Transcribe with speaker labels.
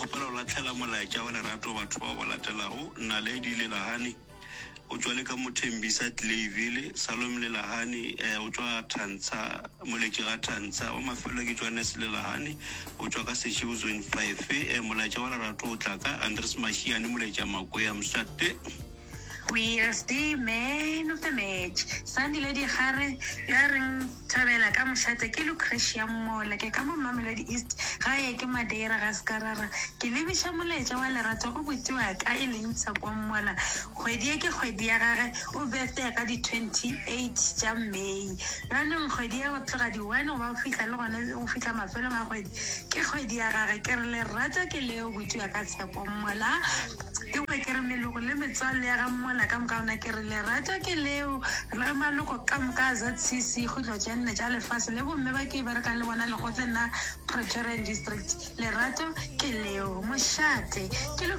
Speaker 1: kgopela go lahlela molaetša wa lerato batho bao ba latelago, Naledi Lelahane, o tšwa le ka mo Thembisa Clayville, Salome Lelahane, eh, o tšwa Thantsha, Moletši ga Thantsha, wa mafelelo ke Johannes Lelahane, o tšwa ka Seshego Zone 5, eh, molaetša wa lerato o tla ka Andres Mashiane, Moletša Makwea, Mswate.
Speaker 2: WSD Man of the Match, Sandile Dikgare ya reng Thobela ka mošate ke Lucretia Mmola ke ka mo Mamelodi East gae ke Madeira ga Skarara ke lebiša molaetša wa lerato go buti wa ka e leng Tshepo Mmola kgwedi ye ke kgwedi ya gage o birthday ka di 28 tša May bjanong kgwedi ye go tloga di one go ba go fihla le gona go fihla mafelong a kgwedi ke kgwedi ya gage ke re lerato ke leo buti wa ka Tshepo Mmola Ke kwe ke re meloko le metswalle ya ga Mmola ka moka gona ke re lerato ke leo re maloko ka moka a ZCC kgutlo tše nne tša lefase le bomme ba ke berekang le bona lekgotleng la Praetorian District lerato ke leo mošate ke le.